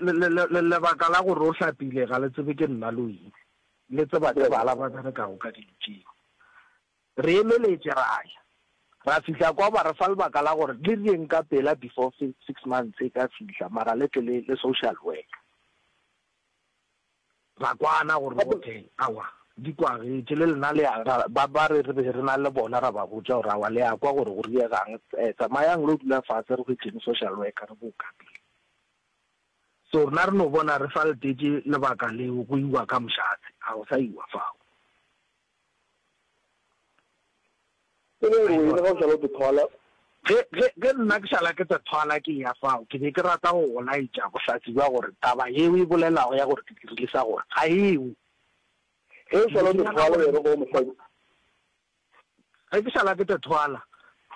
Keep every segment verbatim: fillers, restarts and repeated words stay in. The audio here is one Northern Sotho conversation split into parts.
Lebaka la gore o hlapile ga le tsebe ke nna le wena. Le tseba ke bala ba berekago ka dilo tšeo. Re emeletše ra ya. Ra fihla kwa ba re fa lebaka la gore le rieng ka pela before six months e ka fihla mara le tle le le social worker. Ra kwana gore okay aowa di kwagetše le lena le ya ba ba re re be re na le bona ra ba botša gore aowa le ya kwa gore go riegang tsamayang lo dula fase re hwetšeng social worker re bo ka pele. So rena re no bona re sa letetše lebaka leo go iwa ka mošate, ga go sa iwa fao. E le gore wena ga o šala o te thwala. Ge, ge, ge nna ke šala ke te thwala ke eya fao, ke be ke rata go go laetša bohlatse bja gore taba ye o e bolelago ya gore ke dirile sa gore, ga eo. Ge o šala o te thwala wena go mosadi. Ge ke šala ke te thwala,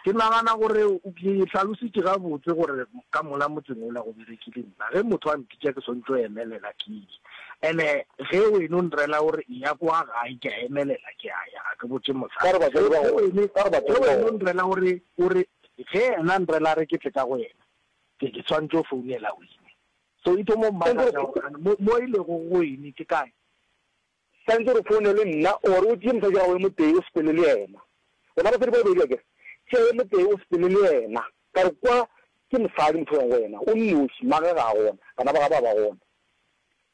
ke nagana gore ke hlalositše gabotse gore ka mola motseng wola go berekile nna. Ge motho a mpitša ke swantše go emelela ke ye. Ene ge wena o nrela o re eya kwa gae, ke a emelela ke a ya, ga ke botše mosadi. Ge wena o nrela o re, o re ge yena a nrela a re ke tle ka go yena, ke ke swantše go founela wene. So e thomo mmakatša gore mo, mo e lego go wene ke kae? Swantše gore o founele nna or o tšee mosadi wa gago yo motee o sepele le yena. Gona basadi ba babedi akere? Tšea yo motee o sepele le yena. Ka re kwa ke mosadi motho o yang go yena, o nnoši, mmagwe ga a gona, bana ba gagwe ga ba gona.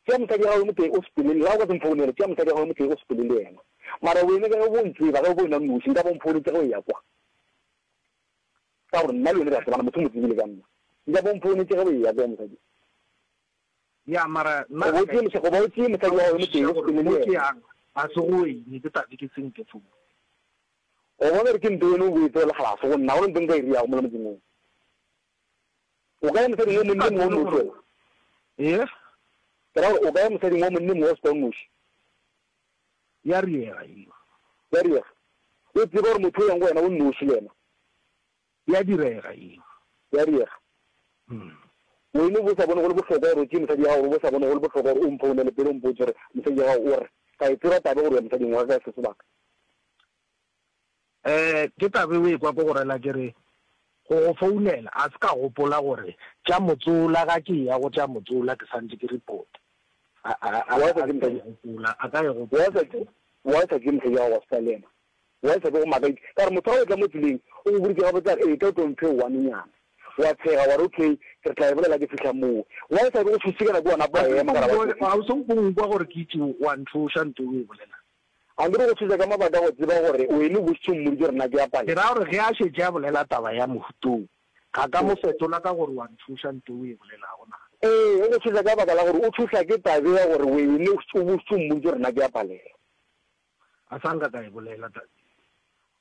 Tšea mosadi wa gago yo motee o sepele le, ga o ka se mfounele, tšea mosadi wa gago yo motee o sepele le yena. Mara wena ka ge o bo ntseba, ge o bo wena o nnoši, nka be o mfounetše ge o eya kwa. Ka gore nna le wena re a tsebana, motho o mo tsebile ka nna. Nka be o mfounetše ge o eya kwa mosadi. Ya, mara nna Goba o tšee mosa, goba o tšee mosadi wa gago yo motee o sepele le mo ke yena. yang ga se go wene, ke tla be ke senke founu. O bona gore ke nto wene o boetse o le kgalase go nna, ga gona nto nka e riago mola motseng wo. O ka ya mosading wo Ke monne sa mongwe o tsebe nnoši gore wena? Ee? Ke ra gore o ka ya mosading wo monne mongwe o sepela o nnoši? Ya riega eo. Ya riega. O tseba gore motho o yang go wena o nnoši le yena? Ya direga eo. Ya riega. Wene o bo sa bone go le bohlokwa gore o tšee mosadi ya gago, o bo sa bone go le bohlokwa gore o mphounele pele o mpotše gore mosadi ya gago o re, Ka e tseba taba gore o ya mosading wa ka ka se sebaka. Eh, ke taba o ekwa ko go rela ke re, go go founela, a se ka gopola gore tša motsola ga ke eya go tša motsola ke santše ke report. A, a, a, Why a sa se tšee ka e mosadi, gopola, a ka e why gopola. sa tšee, why sa tšee mosadi ya gago wa sepela le yena? Why sa be go makaditše? Ka gore motho ga o etla mo tseleng, o go boditše gabotse a re, Etla o tlo mphe one nyana. Wa tshega, wa re, Okay, ke re tla e bolela ke fihla moo. Why sa be go tšhošitše ka nako wa napa Ga wa se ema ka ra nko ba nkwe, tšhošitše? ga o se nko nkwa gore ke itše wa ntšhoša nto o e bolelang. A nke re go tšhoša ka mabaka a go tseba gore wene o bošitše o mmoditše gore nna ke a Ke palela. ra gore ge a šetše a bolela taba ya mohuta wo, ga ka mo fetola ka gore wa ntšhoša nto o e bolelago na? Ee, o go tšhoša ka baka la gore o tšhošwa ke tabe ya gore wene o bošitše o mmoditše gore nna ke a palela. A sa nka ka e bolela taba ye.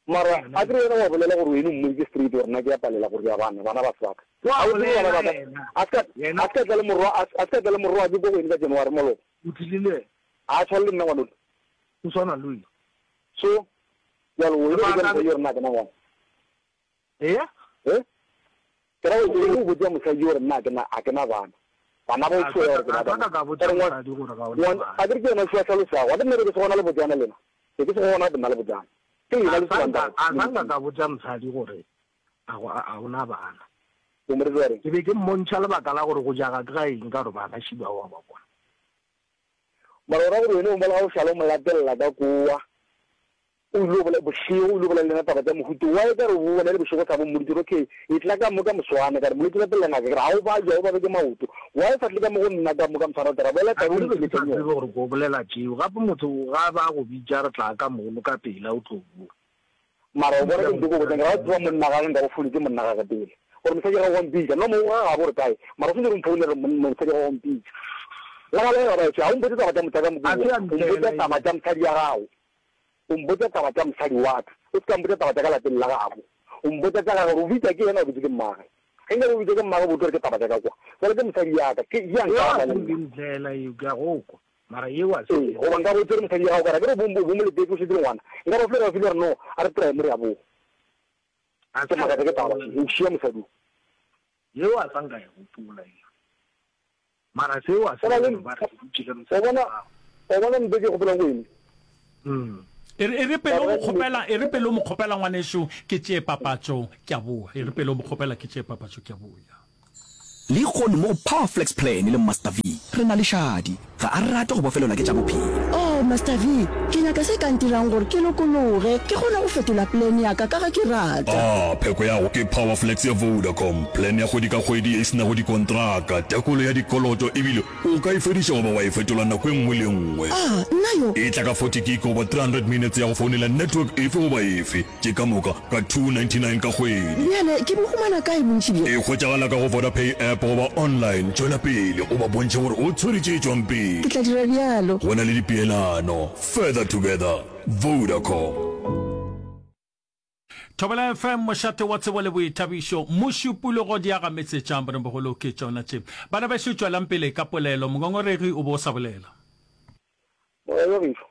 Mara a ke re wena wa bolela gore wene o mmoditše straight gore nna ke a palela gore ya bana, bana ba se ba ka. Wa A o tsebe bana bolela ba ka, yena, a se ka, yena. a se ka tla le morwa, a se ka tla le morwake ko go wene ka January maloba. O tlile le yena. A tshwane le nna ngwanole. O swana le wena. So, bjalo wene o botša Lebaka mosadi gore nna ga ke na ngwana. Eya. He? Ke ra gore wene o botša mosadi gore nna ga ke na, ga ke na bana. Bana ba o A tšhoya sa gore ke ka, na a sa bana. ka ka Ka botša re ngwan, mosadi gore ga o na ngwan, bana. a ke re ke yena o šoa hlalosago. A ke nna be ke se gona le botšana lena. Be ke se gona nna le botšana. Ke A yena le sa sebang nka, taba, a le sa nka mosadi. ka botša mosadi gore a go, a o na bana. O mo rete wa reng? Ke be ke mmontšha lebaka la gore go jaga ke ga eng ka gore bana šiba wa ba bona. Mara o ra gore wene o mola ga o šala o mo latelela ka kowa, o ile o bolela bošego, o ile o bolela le yena taba tša mohuta wo, wa e ka re o bona e le bošego o sa bo mmoditše gore okay, etla ka mo ka moswane, ka re molwetši latelela ngaka, ke re ga o babja, o babja ke maoto, wa e sa tle ka mo go nna ka mo ka moswane ra bolela A taba ke o re be ke sa nkeletšang tsebe yona. gore ko bolela tšeo, gape motho ga a ba a go bitša re tla ka mono ka pela o tlo boa. Mara o bona ke nto ko botšang, ke ra o tseba monna gage nka go founetše monna gage pele gore mosadi gage wa mpitša, no mo ga gabo gore kae, mara o swanetše gore o mphounele gore mosadi gage wa mpitša. Le ga le ga ba etswe, ga o mpotše taba tša motša ka A mokoa, se a o mpotša ntlela taba eo. tša mosadi ya gago, o mpotša taba tša mosadi wa ka, o se ka mpotša taba tša ka lapeng la gabo, o mpotša tša gage gore o bitša ke yena o bitše ke mmage. Ge nka be o bitša ke mmage bo tlo re ke taba tša ka kwa, jwale ke mosadi ya ka, ke ya Eo a nkaraba se le nke nna. ntlela eo, ke a go kwa, mara eo a se Ee, nke goba nka ntlela. bo tsere mosadi ya gago ka re, akere bo, bo mo letetše o šetše le ngwana, nka ba file ra file re no, a re try mo re a boa. A Ke se a makatša ke taba gopola še, o šia mosadi o. Yeo a sa nka e gopola eo. Mara seo a se O na re le, gore ba re ke dutše le o mosadi bona, wa gago. o bona nto ke gopolang go eng? Mm. E re, e re pele o Taba mo ya kgopela, e re pele o mo kgopela ngwanešu, ke tšee papatšo, ke a boa. E re pele o mo kgopela ke tšee papatšo, ke a boya. Lehono mo go Power Flex Plan le Master V, re na le Shadi. Ga a rate go bofelelwa ke tša bophelo. Oh, Master V, ke nyaka se ka ntirang gore ke lokologe, ke kgone go fetola plan ya ka ka ge ke rata. Ah, pheko ya go ke Power Flex ya Vodacom, plan ya kgwedi ka kgwedi ye e se nago dikontraka, tekolo ya dikoloto ebile o ka e fediša goba wa e fetola nako e nngwe le e nngwe. Ah, nna yo! E tla ka forty gig goba three hundred minutes ya go founela network efe goba efe. Tše ka moka ka two ninety nine ka kgwedi. Bjale ke bo humana kae bontši bjo? E hwetšagala ka go Vodapay app goba online. Tšwela pele o ba bontšhe gore o tshwere tše tšwang pele. Ke tla dira bjalo. Go na le dipeelano. Further together. Vodacom. Thobela F M, mošate wa tsebo le boithabišo. Mošupologo di aga metse tša Mrembogolo ke tšona tše. Bana bešo tšwelang pele ka polelo. Mongongoregi o be o sa bolela. Moya wa gešo.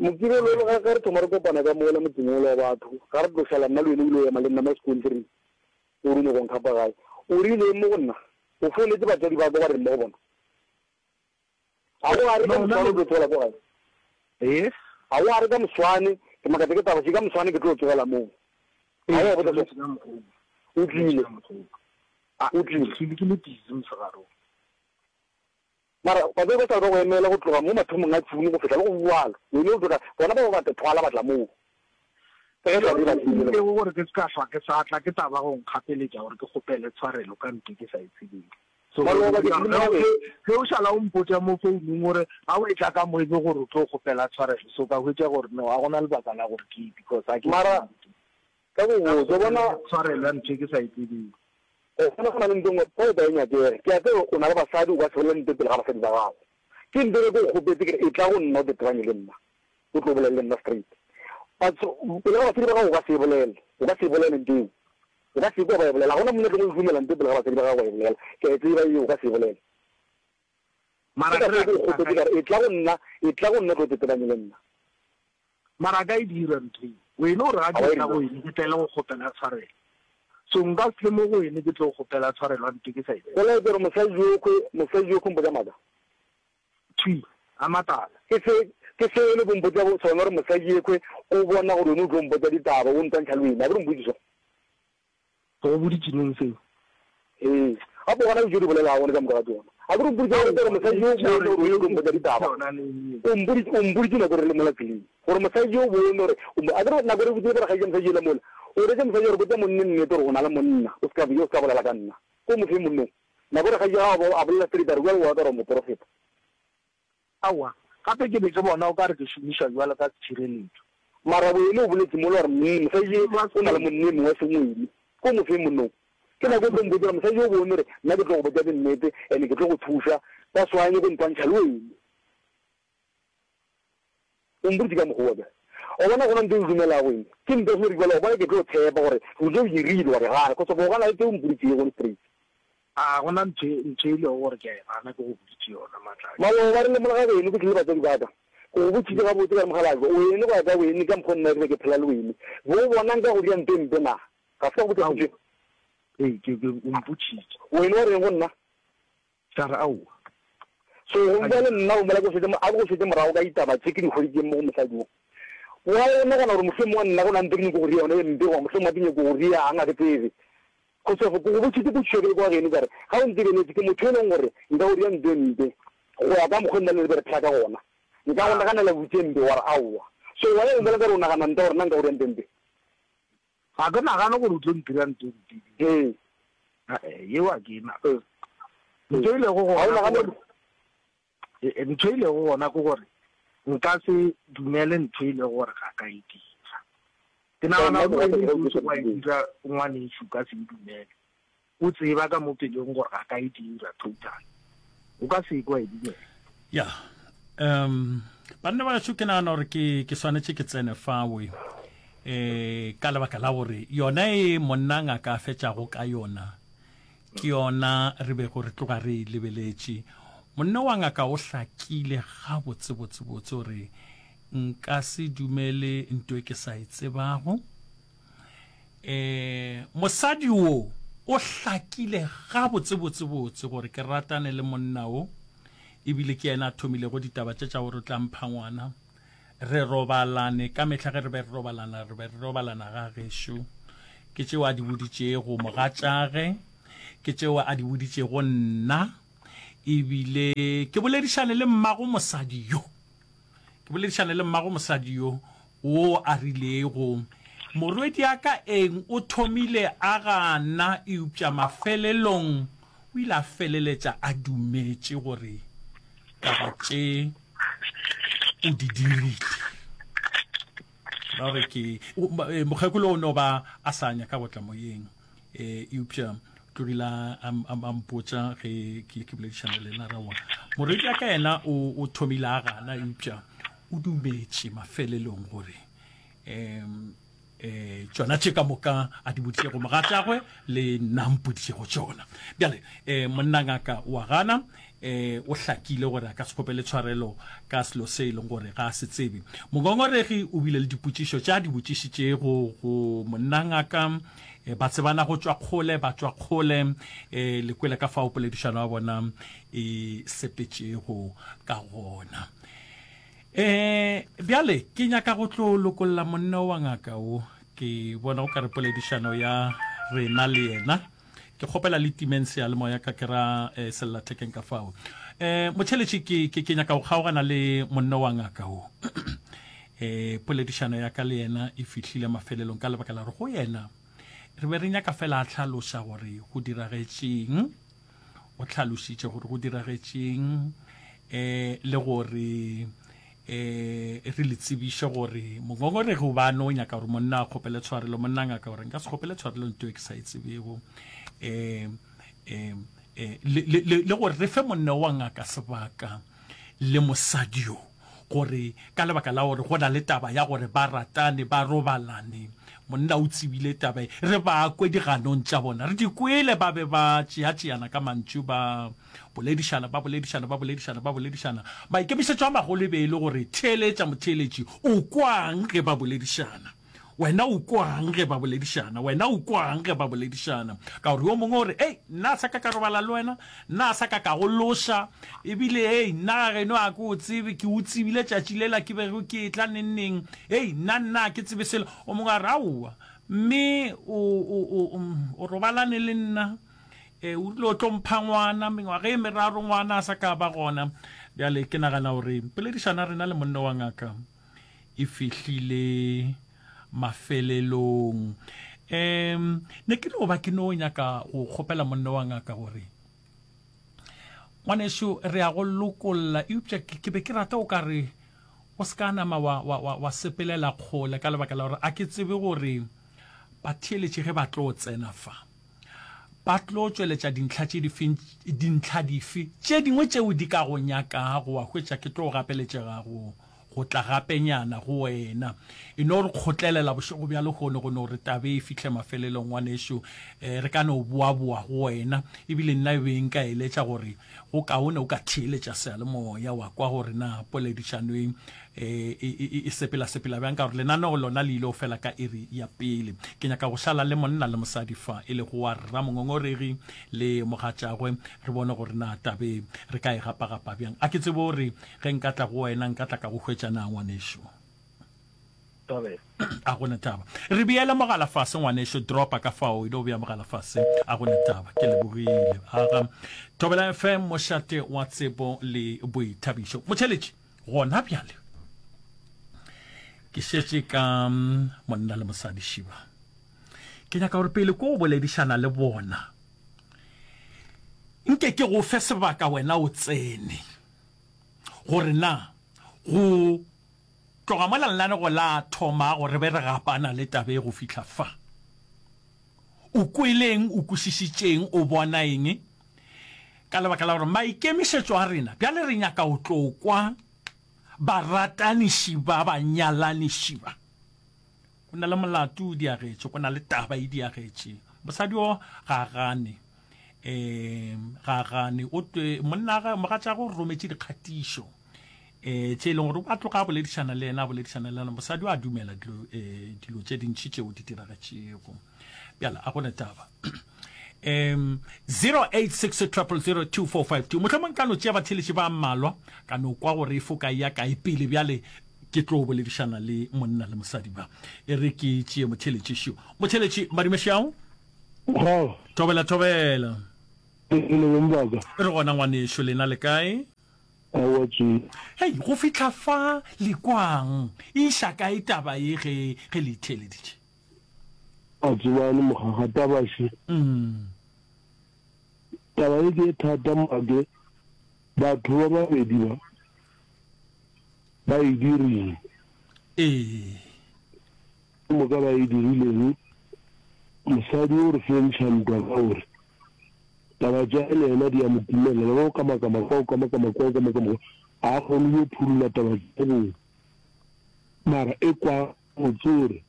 Mokibelo le ga ge re thoma re kopana ka mola motseng wola wa batho, ga re tlo šala nna le wena o ile o ema le nna mo sekonthiring o re o nyaka go nkhapa gae. O rile eng mo go nna? O founetše batswadi ba ka wa reng mo go bona? Ga o a re ka No, nna moswane o le tlo tsogela ko gae? Ee. Ga o a re ka moswane, ke makatša ke taba še, ka moswane ke tlo tsogela moo. Ga o Ee, a ke botša boletše so? ka mokgwa wo. O Ke boletše tlile. ka mokgwa wo. A, O ke tlile. tlile ke le busy mosegare wo. Mara batswadi ba sa le ba go emela go tloga mo mathomong a June go fihla le go bjalo. Wene o tloga, bona ba ba ba thwala ba tla moo. Ka ge Seo taba ye se ba tsebile ntirilego gore ke se ka hlwa ke sa tla ke taba go nkgapeletša gore ke kgopele tshwarelo ka ntho ke sa e tsebego. So Maloba ke ke tlile ge mo ge gae. ge o šala o mpotša mo founung gore ga o etla ka mo e be gore o tlo kgopela tshwarelo, so ka hwetša gore no ga gona lebaka la gore ke ye because ga ke Mara tsebe. ka go Ka botša, o bona kgopele tshwarelo ya ntho e ke sa e tsebego. O bona go na le ntho e nngwe, fa o ka e nyakege. Ke a tseba o na le basadi, o ka se bolele ntho pele ga basadi ba gago. Ke ntho e ke go kgopetše ke re, etla go nna o tetebanye le nna, o tlo bolele le nna straight. Batho, pele ga basadi ba gago o ka se e bolele, o ka se e bolele ntho eo. O ka se kwe ba e bolela. Ga gona monna a tlogo dumela ntho pele ga basadi ba gago ba e bolela. Ke a e tseba eo, o ka se e bolele. Mara Ke ka ke re fao ke go a kgopetše ka ka re, etla go nna, etla go nna o tlo tetebanye le nna. Mara a ka e dira ntho eo. Wene o re ga Ga ke wa e etla go dira. wene ke tlele go kgopela tshwarelo. So nka se tle mo go wene ke tlo kgopela tshwarelo a ntho ke sa e Go laetša gore mosadi yokhwe, mosadi yokhwe o mpotša maaka. Thwi, a matala. Ke se, ke se wene o mpotša sona gore mosadi yekhwe o bona gore wene o tlo mpotša ditaba, o ntwantšha le wene. A ke re o mpotše sona? Ke go boditše neng seo? Ee. Gape gona ke tšo di bolelago gone ka moka ga tšona. A ke re o mpoditše Aowa, gore mosadi yo o ke bone gore gore o yeo tlo ke mpotša go ditaba. boditše yona neng eo? O mpoditše, o mpoditše nako re le mola tseleng gore mosadi yo o bone gore o mo, a ke re nako re boditše gore kgaetšedi mosadi yola mola, o reetše mosadi gore botša monne nnete gore o na le monna, o se ka, o se ka bolela ka nna. Ko mo fe monnong. Nako re kgaetšedi ya gago a bolela straight a re bjale wa ka gore o moporofeta. Aowa, gape ke be ke bona o ka re ke šomišwa bjalo ka tshireletšo. Mara wene o boletše mola gore mm, mosadi ye o na le monne mongwe e seng wene. Ko mo fe monnong. Ke nako o tlo mpotša gore mosadi yo o bone gore nna ke tlo go botša dinnete and ke tlo go thuša, that's why a nyako ntwantšha le wene. O mpoditše ka mokgwa wa bjale. O bona gona ntho e o dumelago eng? Ke ntho e gore bjale o bona ke tlo tshepa gore o tlo dirile wa di gana, cause of o gana le tse o mpoditšego gone straight. A gona ntho e, ntho e lego gore ke a e gana ke go boditše yona, Matladi. Maloba re le mola ga geno ke tlile batswadi ba ka. Ke go botšitše gabotse ka re mokgalabje, wene go ya ka wene ka mokgwa nna ke be ke phela le wene. Bo o bona nka go dira ntho e mpe na? Ga se ka go botša Aowa. potšo. Ee, ke, ke, o mpotšitše. Wene wa reng go nna? Ka re aowa. So go Ga bua ke le nna o mola ke go šetše, a ke go šetše morago ka ditaba tše ke di hweditšeng mo go mosadi wo. Why o nagana gore mohlomongwe nna go na ntho e ke nyako go ria yona e mpe goba mohlomongwe ke nyako go riang ga ke tsebe. Cause of ke go botšitše potšišo ke le kwa geno ka re ga o ntebeletše ke motho e leng gore nka go ria ntho e mpe go ya ka mokgwa nna le be re phela ka gona. Nka go Ah. naganela botse mpe wa re aowa. So why o mola ka re o nagana nta gore nna nka go ria ntho e mpe? Ga ke nagane gore o tlo ntira ntho e mpe. Ee. Eh, yeo a ke e nagane. Ee. Ntho e lego Ga o gona ke nagane gore e, ntho e lego gona ke gore nka se dumele ntho e lego gore ga ka e dira. Ke nagana nna ke gore rata wene ge o ntho tloša wa e dibeng. dira ngwanešu ka se e dumele. O tseba ka mo pelong gore ga ka e dira total. O ka se kwa e dumela. Ya. Um banna ba gešo ke nagana gore ke ke swanetše ke tsene fawe eh ka lebaka la gore yona e monna ngaka a fetšago ka yona ke yona re bego re tloga re e lebeletše. Monna wa ngaka o hlakile gabotse botse botse gore nka se dumele ntho e ke sa e tsebago. Eh mosadi wo o hlakile gabotse botse botse gore ke ratane le monna wo ebile ke yena a thomilego ditaba tše tša gore o tla mpha ngwana. Re robalane ka mehla ge re be re robalana re be re robalana ga gešo. Ke tšeo a di boditšego mogatšage, Ke tšeo a di boditšego nna, ebile ke boledišane le mmago mosadi yo. Ke boledišane le mmago mosadi yo wo a rilego, Morwediaka eng o thomile a gana, eupša mafelelong o ile a feleletša a dumetše gore taba tše o di dirile. Ra gore ke mokgekolo o no ba a sa nyaka go tla moyeng, e eupša tlogile a a mpotša ge ke ke boledišana le yena rawa morwedi ya ka yena o o thomile a gana, eupša o dumetše mafelelong gore um um tšona tše ka moka a di boditšego mogatšagwe le nna mpoditšego tšona. Bjale um monna ngaka wa gana, um o hlakile gore a ka se kgopele tshwarelo ka selo se e leng gore ga a se tsebe. Mongongoregi o bile le dipotšišo tše a di botšišitšego go monna ngaka, um ba tsebana go tšwa kgole, ba tšwa kgole, um le kwele ka fao poledišano ya bona e sepetšego ka gona. E, bjale ke nyaka go tlo lokolla monna wa ngaka wo. Ke bona o ka re poledišano ya rena le yena. Ke kgopela le timeng seyalemoya ka ke ra eh, sellathekeng ka fao. Eh, motšheletši ke, ke, ke nyaka go kgaogana le monna wa ngaka wo. eh, poledišano ya ka le yena e fihlile mafelelong ka lebaka la gore go yena re be re nyaka fela a hlaloša gore go diragetšeng. O hlalošitše gore go diragetšeng eh le gore eh re le tsebiše gore mongongoregi o ba no nyaka gore monna a kgopele tshwarelo, monna ngaka gore nka se kgopele tshwarelo nto e ke sa e tsebego, eh eh eh le, le, le, le gore re fe monna wa ngaka sebaka le mosadi yo gore ka lebaka la gore go na le taba ya gore ba ratane, ba robalane, monna o tsebile taba e, re ba kwe diganong tša bona, re di kwele ba be ba tšeatšeana ka mantšu, ba boledišana, ba boledišana, ba boledišana, ba boledišana. Maikemišetšo a magolo e be e le gore, theeletša motheeletši, o kwang ge ba boledišana? Wena o kwang ge ba boledišana? Wena o kwang ge ba boledišana? Ka gore yo mongwe o re, Ei, nna a sa ka ka robala le wena, nna a sa ka ka go loša, ebile ei, nna ga geno a ke o tsebe, ke o tsebile tšatši lela ke bego ke etla neng neng, ei, nna nna a ke tsebe selo. O mongwe a re, Aowa, mme o, o, o, o robalane le nna, e, o rile o tlo mpha ngwana, mengwaga e meraro ngwana a sa ka ba gona. Bjale ke nagana gore poledišano ya rena le monna wa ngaka e fihlile mafelelong. Um ne ke no ba ke no nyaka go kgopela monna wa ngaka gore ngwanešu re ya go lokolla, eupša ke be ke rata o ka re o se ka nama wa, wa, wa, wa sepelela kgole ka lebaka la gore a ke tsebe gore batheeletši ge ba tlo tsena fa ba tlo tšweletša dintlha tše dife, dintlha dife tše dingwe tšeo di ka go nyakago wa hwetša ke tlo gapeletšega go go tla gapenyana go wena. E no re kgotlelela bošego bja lehono go no re tabe e fihle mafelelong, ngwanešu. E, re ka no boaboa go wena. Ebile nna e be nka eletša gore go kaone o ka theeletša seyalemoya wa kwa gore na poledišano e, e, e, e sepela-sepela bjang, ka gore lenaneo lona le ile go fela ka iri ya pele. Ke nyaka go šala le monna le mosadi fa, e lego wa rramongongoregi le mogatšagwe, re bone gore na tabe re ka e gapagapa bjang. A ke tsebe gore Ge nka tla go wena, nka tla ka go hwetša na, ngwanešu? Thobela. A go ne taba. Re beele mogala fase, ngwanešu, dropa ka fao, e no bea mogala fase. A go ne taba. Ke lebogile. Aga. Thobela F M, mošate wa tsebo le boithabišo. Motšheletši, gona bjale ke šetše ka monna le mosadi šiba. Ke nyaka gore pele ko boledišana le bona, nke ke go fe sebaka wena o tsene. Gore na go tloga mola lenanego la thomago re be re gapana le taba ye go fihla fa, o kweleng, o kwešišitšeng, o bona eng? Ka lebaka la gore maikemišetšo a rena bjale re nyaka go tlo kwa barataniši ba banyalaniši ba. Go na le molato o diagetše, go na le taba e diagetše. Mosadi o ga a gane. Um ga a gane. O twe monna ga mogatšagwe o rometše dikgatišo um tše e leng gore a tloga a boledišana le yena, a boledišana le yena. Mosadi o a dumela dilo um dilo tše dintši tšeo di diragetšego. Bjale a go ne taba. Um zero eight six triple zero two four five two. Mohlomong ka no tšea batheeletši ba mmalwa ka no kwa gore e foka ya kae pele bjale ke tlo boledišana le monna le mosadi ba. E re ke tšee motheeletši šo. Motheeletši, madumešao. Go. Thobela, thobela. Le beng ba ka? Re gona ngwanešu, lena le kae? Aowa tšee. Hei, go fihla fa le kwang, e iša kae taba ye ge, ge le itheeleditše? A tsebane mogaga, taba še. Taba ye ke ye thata make, batho ba babedi ba, ba e dirile. Ee. Ke moka ba e dirileng, mosadi o re fentšha ntwa ka gore taba tša le yena di a mo timelela, ba ba o kamakama kwa, o kamakama kwa, o kamakama kwa, ga a kgone go yo phurola taba tša bona. Mara e kwa botse gore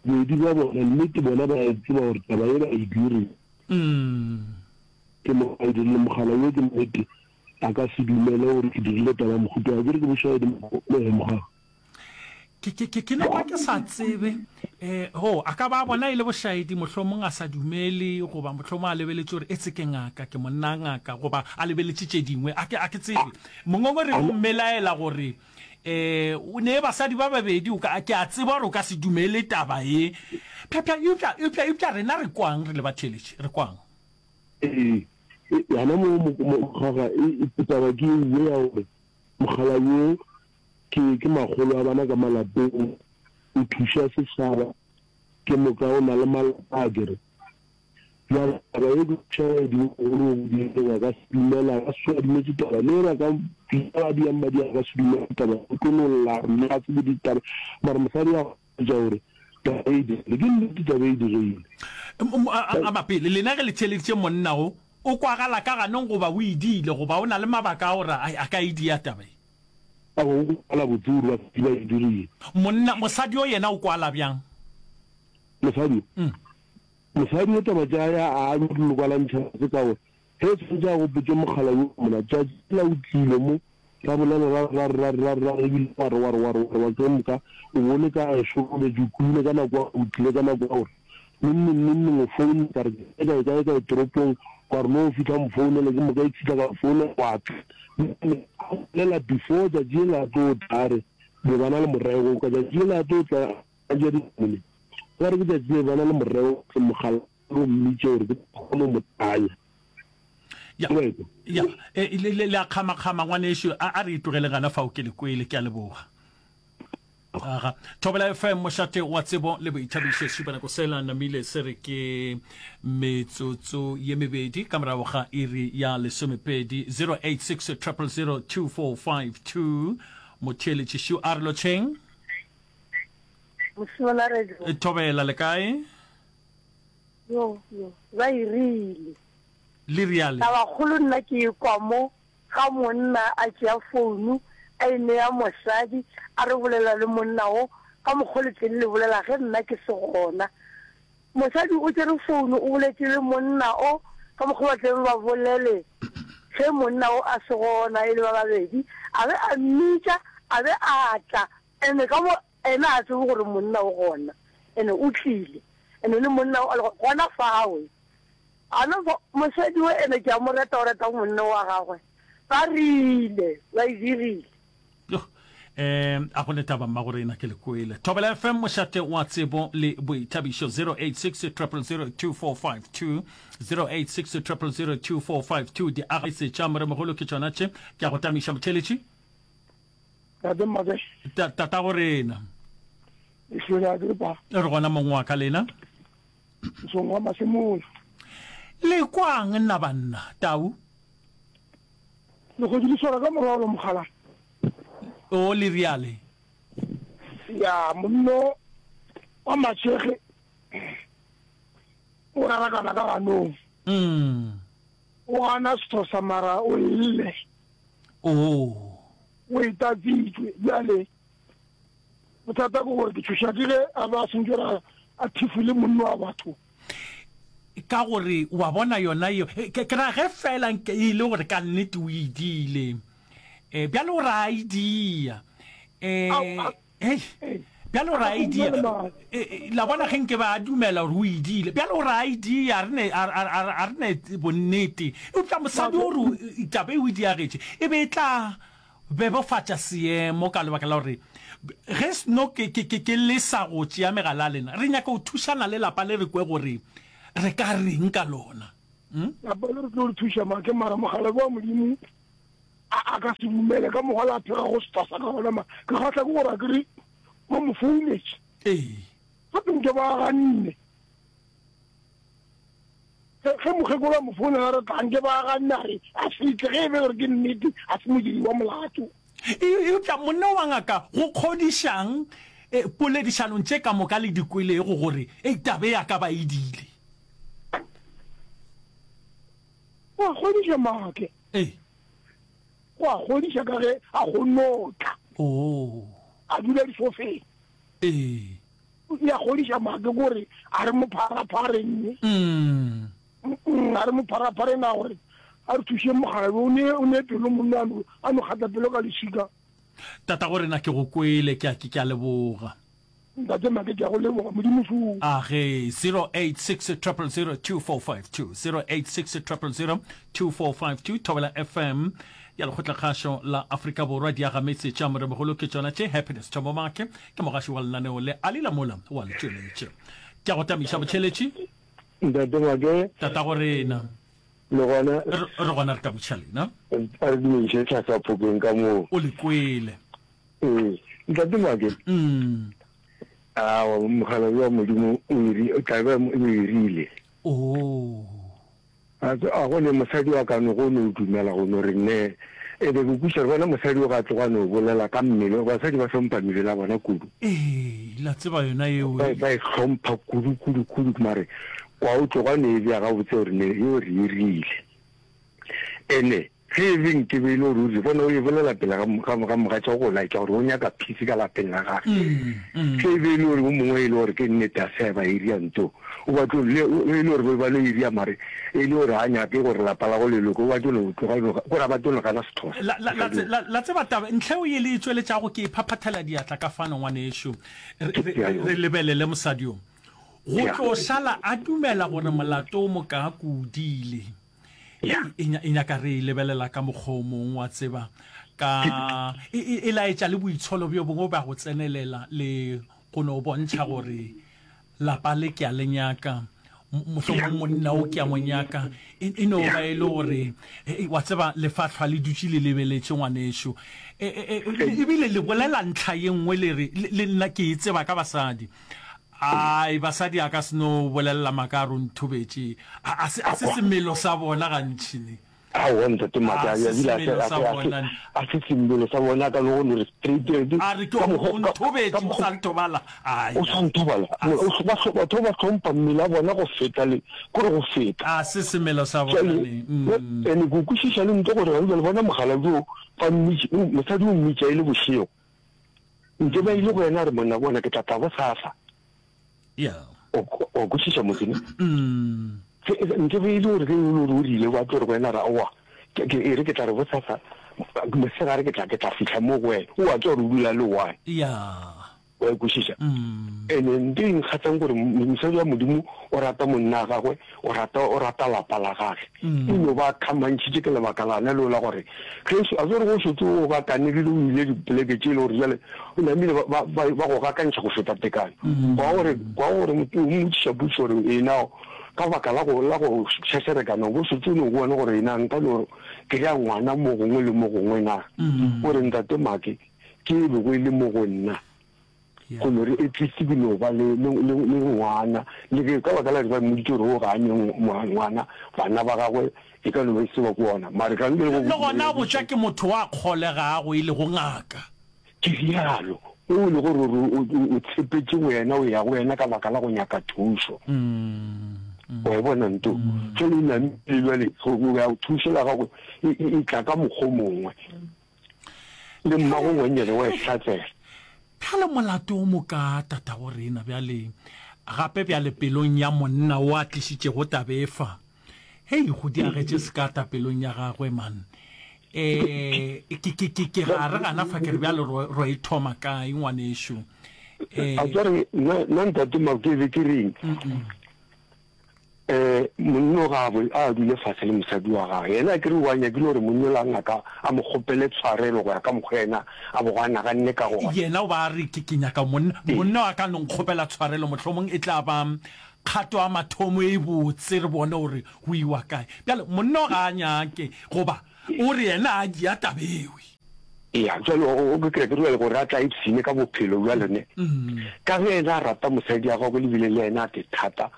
bobedi bja bona nnete bona ba e tseba gore taba ye ba e dirile. Ke mo ba e dirile, mogala yo ke nnete a ka se dumele gore ke dirile taba ya mohuta wa, akere ke bošaedi mogala. Ke, ke, ke, ke no ba ke sa tsebe. Eh, ho, a ka ba a bona e le bošaedi, mohlomong a sa dumele, goba mohlomong a lebeletše gore etse ke ngaka, ke monna ngaka, goba a lebeletše tše dingwe. A ke, a ke tsebe. Mongongoregi o mmelaela gore, eh, o ne basadi ba babedi, o ka, ke a tseba gore o ka se dumele taba ye. Pša, pša, eupša, eupša, eupša rena re kwang re le batheeletši? Re kwang? Ee, gona mo, mo, mo, mogaga, e, e, taba ke ye ya gore mogala yo Ke, ke makgolo a bana ka malapeng, o thuša setšhaba, ke moka o na le malapa a kere. Bjale taba ye ke bošaedi bo bogolo bo bo dirileng a ka se dumele, a ka se tsoge a dumetše taba, le ge ba ka bitša ba diang ba diang a ka se dumele taba, o tlo no lla a re nna ga tsebe ditaba, mara mosadi a gopotša gore taba e dirile, ke nnete taba e diregile. A mapele, lena ge le theeleditše monna o, o kwagala ka ganong goba o idile goba o na le mabaka a gore a ka e dia taba ye? Aowa, o kwala botse gore basadi ba e dirile. Monna, mosadi yo yena o kwala bjang? Mosadi yo? Mosadi yo taba tša ya a no di kwalantšha botse ka gore ge e tshwanetše a gopotše mogala yo mona tšatši lela o tlile mo ra bolela ra re ra re ra re ra re ra re ebile wa re wa re wa re wa re wa ke moka o bo le ka gešo o robetše o kwile ka nako ya gore o tlile ka nako ya gore Neng neng neng neng o foune ka re ke kae kae kae toropong wa re no fihla mo founele ke moka e fihla ka founela wa tla a bolela before tšatši le la tlo tla a re be ba na le morego ka tšatši le la tlo tla a ja dinamune ba re ke tšatši le ba na le morego ke mogala o mmitše gore ke kgone mo tanya ya ya e, le le a kgama kgama ngwanešu a re itlogele gana fao ke le kwele ke a leboga Aga. Thobela F M mošate wa tsebo le boithabišo šupanako sela namile se re ke metsotso ye mebedi ka morago ga iri ya lesomepedi zero eight six triple zero two four five two motheeletši šu a re lotšheng. Mošola radio. Thobela le kae? Yo yo ba e rile. Le riale. Tabakgolo nna ke e kwa mo Ga monna a tšea founu a e nea mosadi a re bolela le monna wo ka mokgo le tleng le bolela ge nna ke se gona. Mosadi o tšere founu o boletše le monna o ka mokgo ba tleng ba bolele ge monna o a se gona e le ba babedi a be a mmitša a be a tla ene ka mo ena a tsebe gore monna o gona ene o tlile ene le monna o a le gona fawe. A no fa, mosadi we ene ke a mo reta, o reta monne wa gagwe. Ba rile, ba e dirile. Yoh, um a go ne taba mmagorena ke le kwele. Thobela F M mošate wa tsebo le boithabišo zero eight six triple zero two four five two zero eight six triple zero two four five two di agese tša moremogolo ke tšona tše ke a go tamiša motheletši. Tate Mmake. Ta, tatago rena. Ehlwele a ke pa. Re gona mong wa ka lena. Mosong wa masemola. Le kwang nna banna, tau? Legodu le swara ka morwalo mogala. O le riale. Ya, monno wa matšhege o rarakana ka ganong. Mm. O gana sethosa mara o lle. Oh. O e tatsitšwe bjale. Bothata ke gore ke tšhoša ke ge a be a sentše gore a thifole monno wa batho. Ka gore wa bona yona yeo, ke, ke ra ge feela nke e le gore ka nnete o e diile. E, bjale o ra e dia. E, hei, bjale o ra e dia. E, e, la bona ge nke ba a dumela gore o e diile. Bjale o ra e dia, a re ne, a, a, a, a re ne bonnete. Eupša mosadi o re taba e o e diagetše, e be e tla bebofatša seemo ka lebaka la gore ge sno ke, ke, ke, ke lesa go tšea megala ya lena, re nyaka go thušana le lapa le re kwe gore re ka reng ka lona. Lapa le re tlo re thuša make mara mokgalabje wa Modimo a a ka se dumele ka mokgwa la a phega go setwa sa ka gona ma ke kgahla ke gore a ke re ba mo founetše. Ee. Gape nke ba ganne. Ge ge mokgekolo a mo founela a re tla nke ba ganne a re a se tle ge e be gore ke nnete a se modiri wa molato. Eupša monna wa ngaka go kgodišang poledišanong tše ka moka le di kwelego gore ei taba e a ka ba e diile? Go a kgodiša Make. Ee. Go a kgodiša ka ge a kgonne go tla. Oo. A dula disofeng. Ee. E a kgodiša Make gore a re mo pharaphareng. Mm. A re mo pharaphareng a gore a re thušeng mokgalabje o ne o ne pelo monna a no a no kgatla pelo ka leswika. Tatago rena ke go kwele ke a ke ke a leboga. Ntate Make ke a go leboga Modimo šo. A ge zero eight six triple zero two four five two zero eight six triple zero two four five two Thobela F M ya Lekgotlakgašo la Afrika Borwa diagametse tša Moremogolo ke tšona tše Happiness Thomo Make ke mogaši wa lenaneo le a lila mola wa le tšweletše ke a go tamiša botšheletši. Ntate Make. Tatago rena. Le gona. Re, re gona re ka botšiša lena. A re dumediše tlhasa phokeng ka moo. O le kwele. Ee. Ntate Make. Mm. Aowa, mokgalabje wa Modimo o iri, o tla be o irile. Oo. A, a go ne mosadi wa ka no go no dumela go no re ne. E be ke kwešiša gore bona mosadi o ga tloga a no bolela ka mmele, basadi ba hlompha mebele ya bona kudu. Ee, la tseba yona yeo. Ba, ba e hlompha kudu, kudu, kudu, mare kwa o tloga a no e bea gabotse gore ne yeo re e rile. Ene ge e be nke be e le gore o rile, bona o e bolela pele ga, ga, ga mogatša go laetša gore o nyaka peace ka lapeng la gage. Ge e be e le gore o mongwe e le gore ke nnete a se a ba area nto, o ba tlo le, e le gore ba ba no area mare e le gore ga nyake gore lapa la go le loke, o ba tlo no tloga no, kore a ba tlo no gana Sexhosa. La, la, la, la, la tseba taba, ntlha eo ye le e tšweletšago ke e phaphathela diatla ka fano, ngwanešu. Re, re, re lebelele mosadi yo. Go tlo šala a dumela gore molato o mokaako o diile. Hei, e, e nyaka re e lebelela ka mokgwa o mongwe, wa tseba, ka, e, e, e laetša le boitsholo bjo bongwe bja go tsenelela le go no bontšha gore lapa le ke a le nyaka, mohlomong monna o ke a mo nyaka. E, e no ba e le gore, wa tseba, lefahlwa le dutše le lebeletše ngwanešu. E, e, e, ebile le bolela ntlha ye nngwe le re, le, le nna ke e tseba ka basadi. Ai, basadi a ka se no bolelela maaka a re o nthobetše. A, a se, a se semelo sa bona gantši ne. Aowa, ntate Maaka, A se a bile a se, semelo a sa se, a se, bona ne. a se semelo sa bona, a ka no go no re straight, re A re ke ka o, mokgwa, o ka, nthobetše, ka o mokgwa, sa nthobala. Ai, o sa nthobala. a O, se. ba hlo, batho ba hlompha mmele a bona go feta le, kore go feta. A se semelo sa bona Bjale, ne. Mm. ene ke kwešiša le ntle gore gane bjale bona mokgalabje o, ba mmitša, o, mosadi o mmitša e le bošego. Nke ba ile go yena a re, Monna, bona, ke tla tla bosasa. Yeah. O, o kwešiša motse ne? Mm. Ge, nke be e le gore ge e le gore o rile, ba tlo re go yena ra, oa, ke, ke, e re ke tla re bosasa, mosegare ke tla, ke tla fihla mo go wena. O a tseba gore o dula le one. Yeah. Wa e kwešiša? Mm. Ene nto e nkgahlang gore mosadi wa Modimo o rata monna wa gagwe, o rata, o rata lapa la gage. Mm. E no ba khamantšhitše ke lebaka lana leo la gore ge a tsere go šetše o gakanegile o ile dipoleke tše e le gore bjale o namile ba, ba, ba, ba go gakantšha go feta tekano. Mm. Kwa gore, kwa gore motho o mmotšiša potšišo gore ena ka baka la go, la go šešerekana o bo šetše o no bona gore ena nka no kry-a ngwana mo gongwe le mo gongwe na. Mm. O re ntate Make ke e bego e le mo go nna. Go no re at least ke no ba le, le, le, le ngwana. Le ge ka baka la gore ba mmoditše gore o ga a ne ngwana, bana ba gagwe e ka no ba e se ba ko ona. Mare ka ntle le go Le gona a botšwa ke motho wa kgolegago e lego ngaka. Ke rialo. O e le gore o, o, o, o tshepetše go yena, o ya go yena ka baka la go nyaka thušo. Wa e bona nto? Ge o namile bjale, go, go ya thušo la gago e, e, e tla ka mokgwa o mongwe. Le mmago ngwannyane wa e hlatsela. Bjale molato o moka tatago rena bjale, gape bjale pelong ya monna o a tlišitšego tabe fa. Hei, go diagetše sekata pelong ya gagwe, man. E, ke, ke, ke, ke ga re gana fa ke re bjale ro, ro e thoma kae, ngwanešu? E, A tsware, nna, nna ntate Makebe ke reng? Eh, monna o ga a dule fase le mosadi wa gagwe. Yena akere o a nyakile gore monna ola ngaka a mo kgopele tshwarelo go ya ka mokgwa yena a bogo a naganne ka gona. Yena o ba a re, Ke, ke nyaka monna, monna wa ka a no nkgopela tshwarelo, mohlomong e tla ba kgato ya mathomo e botse re bone gore go iwa kae. Bjale monna ga a nyake goba o re yena a dia tabewe. Eya, bjale o, o ke ke bjale gore a tla ipshine ka bophelo bjale ne. Ka ge yena a rata mosadi ya gagwe le bile le yena a te thata,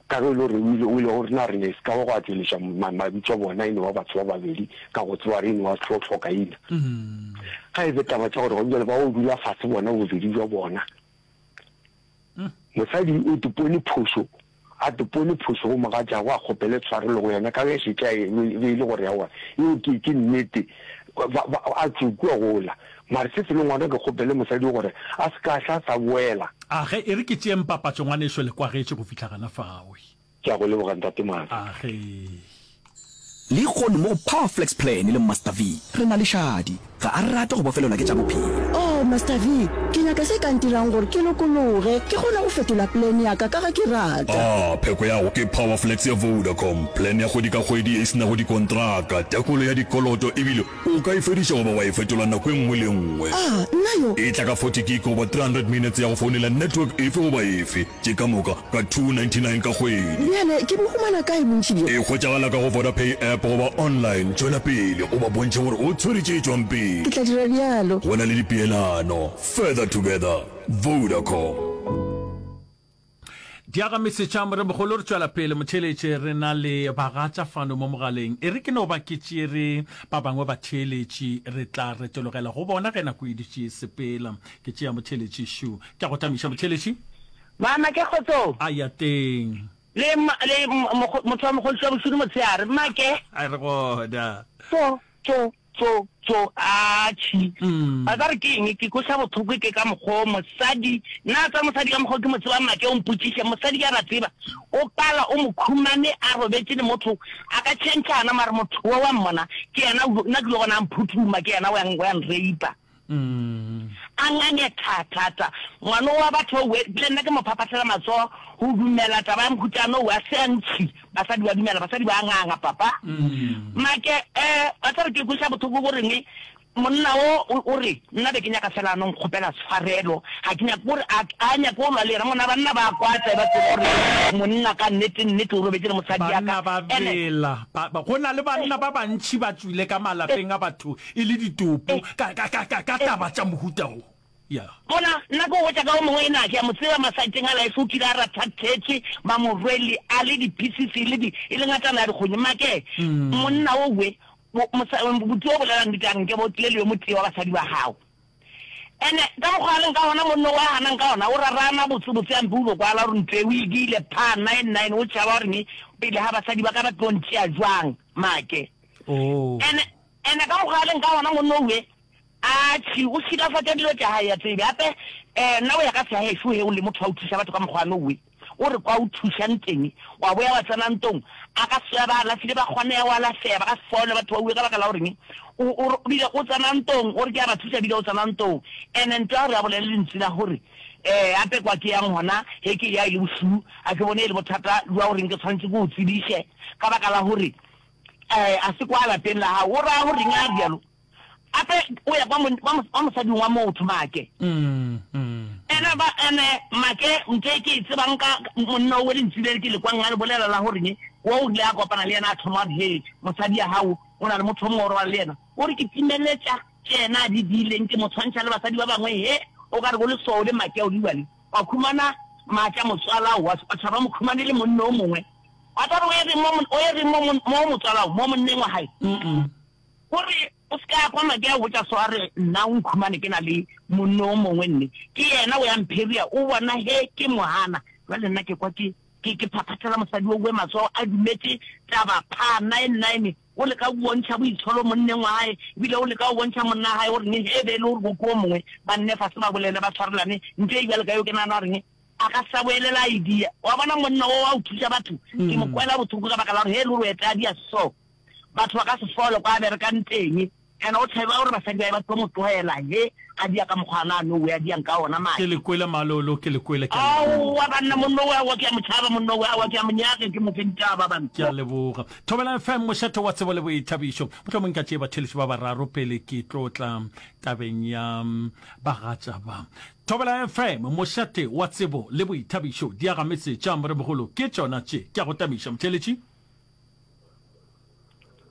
ka ge e le gore o ile, o ile go rena re ne se ka ba gwa tšweletša ma, mabitso a bona e no ba batho ba babedi ka go tseba re e no ba hlo, hlokaina. Ga e be taba tša gore gona bjale ba o dula fase bona bobedi bja bona. Mosadi o topone phošo, a topone phošo go mogatšagwe a kgopele tshwarelo go yena ka ge šetše a e be e le gore aowa yeo ke, ke nnete, ba, ba, a tšwe kua gola. Mare se selo ngwana ke kgopele mosadi gore a se ka hla sa boela. A ge, e re ke tšeeng papatšo ngwaneso le kwagetše go fihla gana fawe. Ke a go leboga Ntate Maaka. A ge. Lehono mo go Power Flex Plan le Master V, re na le Shadi. Ga a rate go bofelelwa ke tša bophelo. Oh, Master V, ke nyaka se ka ntirang gore ke lokologe, ke kgone go fetola plan ya ka ka ge ke rata. A pheko ya go ke Power Flex ya Vodacom, plan ya kgwedi ka kgwedi ye e se nago dikontraka, tekolo ya dikoloto ebile o ka e fediša goba wa e fetola nako e nngwe le e nngwe. A, nna yo? E tla ka forty gig goba three hundred minutes ya go founela network efe goba efe. Tše ka moka ka two ninety nine ka kgwedi. Bjale ke bo humana kae bontši bjo? E hwetšagala ka go Vodapay app goba online. Tšwela pele o ba bontšhe gore o tshwere tše tšwang pele. Ke tla dira bjalo. Go na le dipeelano. Further together. Vodacom. Diagamesetša Moremogolo re tšwela pele motheeletše re na le bagatša fano mo mogaleng e re ke no ba ke tšere ba bangwe batheeletši re tla retologela go bona ge nako e dutše e sepela ke tšea motheeletši šu ke a go tamiša motheeletši. Mama ke kgotsong. A ya teng. Le le motho wa mogolotši wa bošudu motshehare. Mmake. A re gona. Tso tso tso tso atšhi. Ba tla re ke eng ke kweša bohloko ke ka mokgwa o mosadi nna tsa mosadi ka mokgwa o ke mo tsebang make o mpotšiše mosadi ke a ba tseba o pala o mo khumane a robetše le motho a ka tšhentšhana mare motho wo wa mmona ke yena nna ke lo bona a mphuthuma ke yena o yang o yang raper. A ngange tha, tha, tha. Ngwano wa batho owe, le nna ke mo phaphathela matsogo go dumela taba ya mohutano owe, a se a ntšhi. Basadi ba dumela, basadi ba nganga, papa. Make, eh, wa tseba ke kweša bohloko go reng, monna wo o, o re, nna be ke nyaka fela a no nkgopela tshwarelo, ga ke nyake gore a, a nyake go lwa le yena. Monna, banna ba kwata, ba tseba gore monna ka nnete, nnete o robetše le mosadi ya ka. Banna ba Ene. bela, ba, ba, go na le banna ba bantši ba tšwile ka malapeng a batho e le ditopo ka, ka, ka, ka, ka taba tša mohuta wo. Ya. Bona, nna ke go botša ka o mongwe ena, ke a mo tseba masaeteng a life, o kile a ratha thetše, ba mo rwele a le di-pieces, e le di, e le ngatana ya dikgonyi. Make, monna owe, bo, mosa, buti o bolela nnete a re, Nke be o tlile le yo motee wa basadi ba gago. Ene, ka mokgwa a leng ka gona, monna owe a ganang ka gona, o rarana botse-botse a mpe o no kwala gore ntlo e o e diile, phaa, nine, nine, o tšhaba gore ne, pele ga basadi ba ka ba tlo ntšea jwang, make. Oh. Ene, ene ka mokgwa a leng ka gona monna owe, atšhi, o šilafatša dilo tša gae, ya tsebe. Gape, eh, nna o ya ka sehagešo he o le motho wa go thuša batho ka mokgwa ano owe, o re kwa o thušang teng, wa boya wa tsena ntong, a ka se ba alafile ba kgone go alafega, ba ka se fole batho ba uwe ka baka la goreng, o, o re, bile o tsena ntong, o re ke a ba thuša bile o tsena ntong. Ene nto ya gore a bolele lentswe la gore, eh, gape kwa ke yang gona, he ke ya e le bošuu, a ke bone e le bothata bja goreng ke tshwanetse ke o tsebiše, ka baka la gore, eh, a se kwa lapeng la gago. O raya goreng a bjalo? Gape o ya kwa mon-, kwa mos-, kwa mosading wa motho, Make. Ene ba, ene, Make, ntho e ke e tsebang ka monna owe lentswe le ke le kwang a le bolela la goreng, wo o rile a kopana le yena a thoma a re, Hee, mosadi ya gago o na le motho o mongwe o robala le yena. O re ke timeletša tše yena a di diileng, ke mo tshwantšha le basadi ba bangwe, he, o ka re go leswao le Make o le le, wa khumana maatla motswalao, wa, wa tšhaba mokhumane le monna o mongwe. Wa tla re o ye reng mo, o ye reng mo, mo motswalao, mo monneng wa gae? O re, O se ka kwa Make a botša so a re, Nna o nkhumane ke na le monna o mongwe nne. Ke yena o ya mpheria, o bona he ke mo gana. Bjale nna ke kwa ke, ke, ke phaphathela mosadi owe matsogo a dumetše taba phaa nine nine. O leka go bontšha boitsholo monneng wa gae, ebile o leka go bontšha monna gae gore ne he be e le gore go ke o mongwe, ba nne fase ba bolele ba tshwarelane. Ntho e bjalo ka yeo ke nagana gore a ka sa boelela idea. Wa bona monna wo wa go thuša batho, ke mo kwela bohloko ka baka la gore he e le gore o eta a dia so, batho ba ka se fole kwa a berekang teng. Ene o tšhaba gore basadi bae ba tlo mo tlogela he a dia ka mokgwa ana no we a diang ka ona Ke make. le kwele Malolo, ke le kwele, ke a leboga. Aowa banna monno we aowa ke a mo tšhaba monno we aowa ke a mo nyaka ke mo fe ditaba banna. Ke a leboga. Thobela F M, mošate wa tsebo le boithabišo. Mohlomong nka tšee batheeletši ba bararo pele ke tlo tla tabeng ya bagatša ba. Thobela F M, mošate wa tsebo le boithabišo. Diagametse tša Moremogolo ke tšona tše. Ke a go tamiša motheeletši.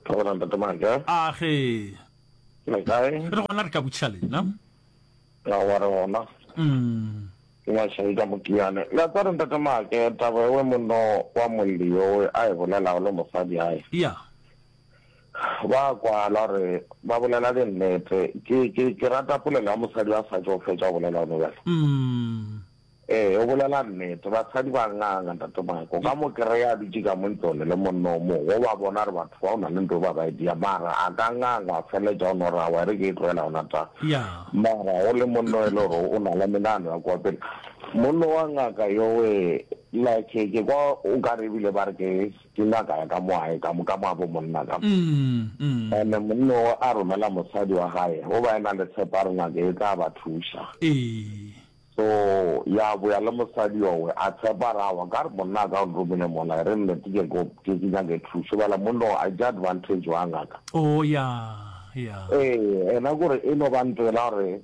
Thobela Ntate Maja. A ge. Le kae? Re gona re ka botšiša lena. Aowa re gona. Mm. Ke Mašai ka Mokiane. Le a tseba Ntate Make taba ewe monno wa molli yowe a e bolelago le mosadi ae. Ya. Ba kwala gore ba bolela dinnete. Ke ke ke rata polelo ya mosadi a sa tšo fetša go bolela gone bjale. Mm. Ee, o bolela nnete. Basadi ba nganga, Ntate Mike. O ka mo kry-a a dutše ka mo ntlong le monna o mongwe, o ba bona gore batho ba o na le ntho ba ba e dia, mara a ka nganga a feleletša o no re, Aowa, e re ke e tlogela gona ta. Mara o le monna o e le gore o na le menagano ya kua pele. Monna wa ngaka yowe, like ke kwa o ka re ebile ba re ke, ke ngaka ya ka mo gae, ka mo, ka mo gabo monna ka mo. And-e monna o a romela mosadi wa gae, o ba e na le tshepo ya gore ngaka e tla ba thuša. Ee. So ya boya le mosadi yowe a tshepa re awa ka re monna a ka o nromile mola e re nnete ke ko ke ke nyake thušo bjale monna o a tšea advantage wa ngaka. Oh ya ya. Ee ena kore e no ba ntwela gore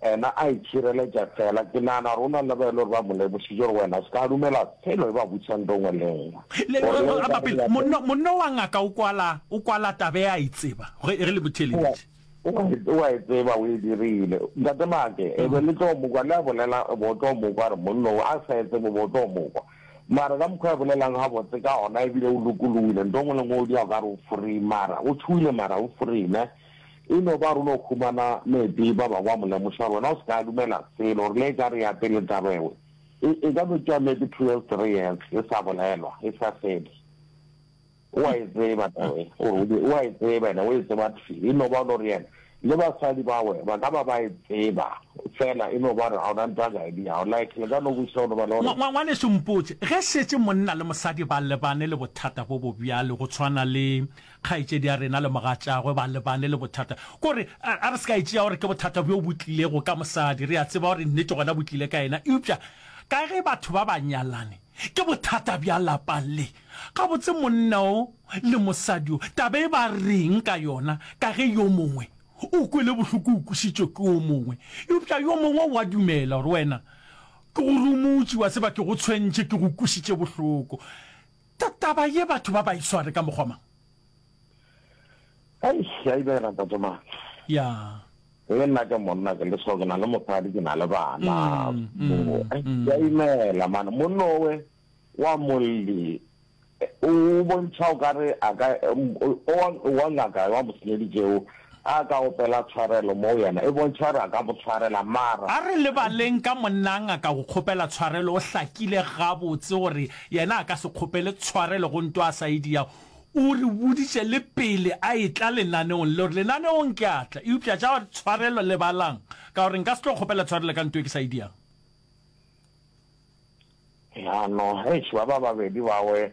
ena a itšhireletša fela ke nagana gore o na le ba e le gore ba mo lemošitše gore wena se ka dumela selo e ba botšiša nto nngwe le nngwe. Le Gore le a ka mapele monna monna wa ngaka o kwala o kwala taba e a e tseba ge ge le mo theeleditše. O a e tseba, o e dirile. Ntate Make, e be le tlo mo kwa, le a bolela, e be o tlo mo kwa, re monna o a sa e tsebe, o be o tlo mo kwa. Mara ka mokgwa a bolelang gabotse ka gona, ebile o lokologile, nto nngwe le nngwe o dira o ka re o free, mara o tšhogile, mara o free, ne? E no ba gore o no humana maybe ba bangwe ba mo lemoša gore wena o se ka dumela selo, gore le e ka re ya pele taba ewe, e, e ka no tšea maybe two years, three years, e sa bolelwa, e sa fele. O a e tseba taba e, gore o di, o a e tseba, ene o e tseba thwi. E no ba gore yena le basadi bawe ba ka ba ba e tseba, fela e no ba gore ga ona ntho a ka e diago. Like, le ka no kwešiša go no ba le gore. Ngwa, ngwa, ngwanešu, mpotše, ge šetše monna le mosadi ba lebane le bothata bo bo bjalo, go tshwana le kgaetšedi ya rena le mogatšagwe ba lebane le bothata, kore, a, a re se ka e tšea gore ke bothata bjo bo tlilego ka mosadi, re a tseba gore nnete gona bo tlile ka yena, eupša ka ge batho ba ba nyalane, ke bothata bja lapa le. Gabotse monna o le mosadi o, taba e ba reng ka yona ka ge yo mongwe o kwele bohloko o kwešitšwe ke o mongwe, eupša yo mongwe o a dumela gore wena ke go rumotše, wa tseba ke go tshwentše, ke go kwešitše bohloko. Ta, taba ye batho ba ba e sware ka mokgwa mang? Eish, ya ibela Ntate Maatla. Ya. Le nna ke monna, ke le so, ke na le mosadi, ke na le bana. So, eish, ya imela man. Monna owe wa molli o bontšha o ka re a ka, o wa ngaka wa mo senyeditšego a ka opela tshwarelo mo go yena, e bontšha gore a ka mo tshwarela mara. A re lebaleng ka monna ngaka go kgopela tshwarelo, o hlakile gabotse gore yena a ka se kgopele tshwarelo go nto a sa e diago. O re boditše le pele a etla lenaneong le gore lenaneong ke a tla, eupša tša gore tshwarelo lebalang ka gore nka se tlo kgopela tshwarelo ka nto e ke sa e diago. Ya no, eish, ba ba babedi bawe,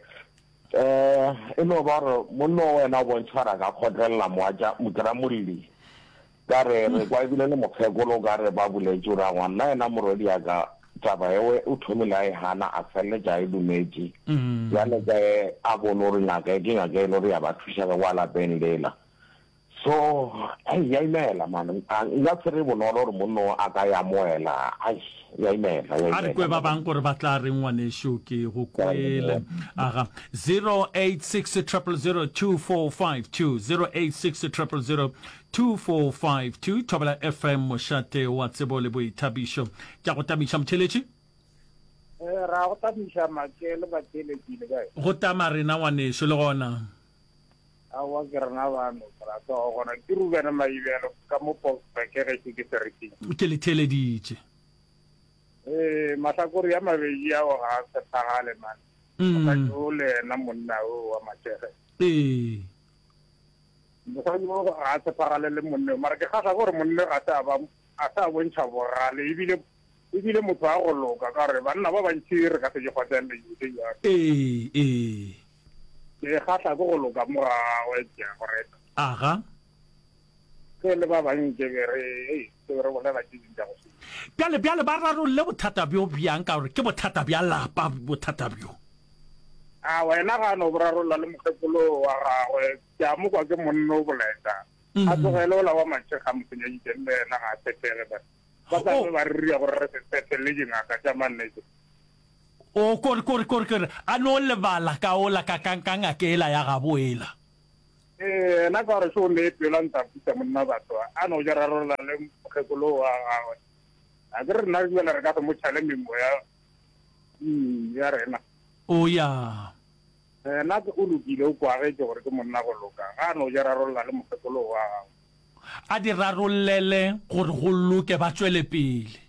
eh, e no ba gore monna o wena o bontšha gore a ka kgotlelela moatša mokramolli. Ka re, re kwa ebile le mokgekolo o ka re ba boletše gore aowa nna yena morwedi ya ka taba ewe o thomile a e gana a feleletša a e dumetše. Bjale ka ge a bone gore ngaka e ke ngaka e le gore ya ba thuša ka kwa lapeng lela. So, ai, ya imela man. A nka se re bonolo gore monna o a ka e amoela. Ai, ya imela, ya A re imela. kwe ba bang gore ba tla reng ngwanešu, ke go kwele. Aga, zero eight six triple zero two four five two, zero eight six triple zero two four five two, Thobela F M, mošate wa tsebo le boithabišo. Ke a go tamiša motheeletši. Eh, ra go tamiša Make le batheeletši le kae? Go tama rena ngwanešu le gona. Aowa ke rena bano molato wa gona ke Rubene Maibelo ka mo Boksburg gešo ke Seriking. Ke le theeleditše. Ee, mahlakore a mabedi ao ga a tshepagale man. Mosadi o le yena monna o wa Matšege. Ee. Mosadi o ga a tshepagale le monna o, mara ke kgahla ke gore monna ga se a ba a se a bontšha bogale ebile ebile motho wa go loka ka gore banna ba bantši re ka se di kgotlelele dilo tše bjalo. Ee, ee. Ke kgahla ke go loka mo ga gagwe, ke a go reta. Aga. Ge le ba bang ke be re, hei, ke be re bolela tše ding tša go se. Bjale, bjale ba rarolle bothata bjo bjang, ka gore ke bothata bja lapa bothata bjo. A wena ga a no bo rarolla le mokgekolo wa gagwe, ke a mo kwa ke monna o boleta. A tlogele ola wa matšhekga a mo senyeditšeng le yena ga a tshepege ba. Ba tla be ba re ria gore re se tshepe le dingaka tša mannete. O, kore, kore, kore, kore a no lebala ka ola ka, ka, ka ngaka ela ya gabo ela. Ee, yena ka gore šo o ne pelo a ntse a putsa monna batho, a no ja rarolla le mokgekolo wa gagwe. A ke re rena bjale re ka se mo tšhale memoya mm, ya rena. O ya. Yena o lokile, o kwagetše gore ke monna go loka, ga a no ja rarolla le mokgekolo wa gagwe. A di rarollele gore go loke ba tšwele pele.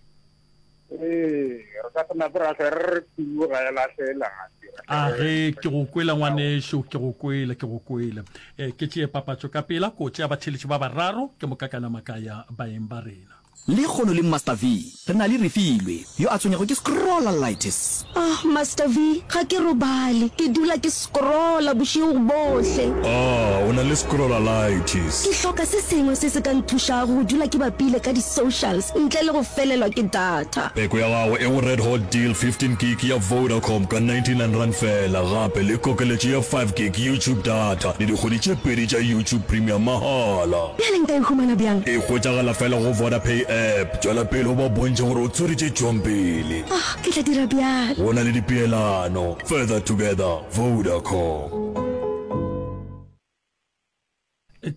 Ee, re ka se nape ra hlwe re re kudu ga e lahle lati. A ge ke go kwele ngwanešo, ke go kwele, ke go kwele. E, ke tšee papatšo ka pela, ko tšea batheeletši ba bararo, ke moka ka nama ka ya baeng ba rena. Lekgono le Master V re na le Refilwe yo a tshwenyago ke scrollalitis. Ah, Master V, ga ke robale. Ke dula ke scrolla bošego bohle. Ah, o na le scrollalitis. Ke hloka se sengwe se se ka nthušago go dula ke bapile ka di-socials ntle le go felelwa ke data. Peko ya gago e go Red Hot Deal fifteen gig ya Vodacom ka ninety-nine rand feela, gape le kokeletšo ya five gig YouTube data le dikgwedi tše pedi tša YouTube Premium mahala. Bjale nka e humana bjang? E hwetšagala feela go Vodapay app. Tšwela pele o ba bontšhe gore o tswere tše tšwang pele. Ah, ke tla dira bjalo. Go na le dipeelano. Further together, Vodacom.